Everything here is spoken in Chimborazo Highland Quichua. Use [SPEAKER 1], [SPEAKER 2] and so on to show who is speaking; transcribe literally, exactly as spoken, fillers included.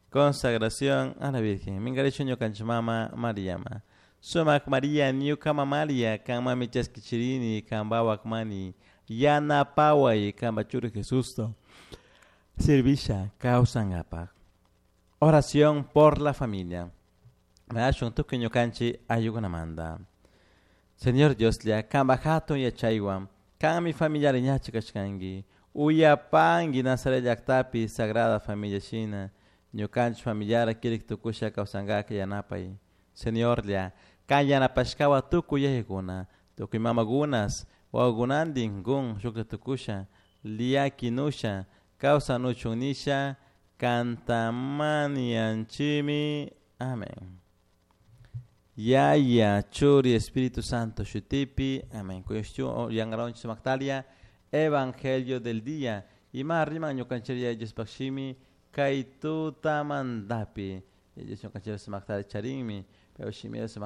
[SPEAKER 1] Consagración a la Virgen. Minkarisha ñukanchik mama Mariama. Sumak Maria ñuka mamaria kanmami chaskichirini kanpawak mani yanapaway kanpa churi Jesusta servisha kawsankapak. Oración por la familia. Mañashun tukuy ñukanchik ayllukunamanta. Señor Dioslla kanpak hatun yachaywan kanmi familiari ñachi kashkanki uyapanki Nazaret llaktapi Sagrada Familia shina ñukanchik familiara kirik tukusha kawsankaka yanapay. Señorlla kan yanapashkawan tukuy yayakuna tukuy mamakunas wawakunantin kun shuklla tukusha llakinusha kawsanuchun nisha kanta mañanchikmi. Amén. Yaya, Churi, Espíritu Santo, Shutipi. Amén. Yangaronchi Sumaktalia, Evangelio del día. Ima riman ñukanchik Diospaj shimi kay tutamantapi. Dios ñukanchik sumaktalia charinmi, pero shimi sumaktalia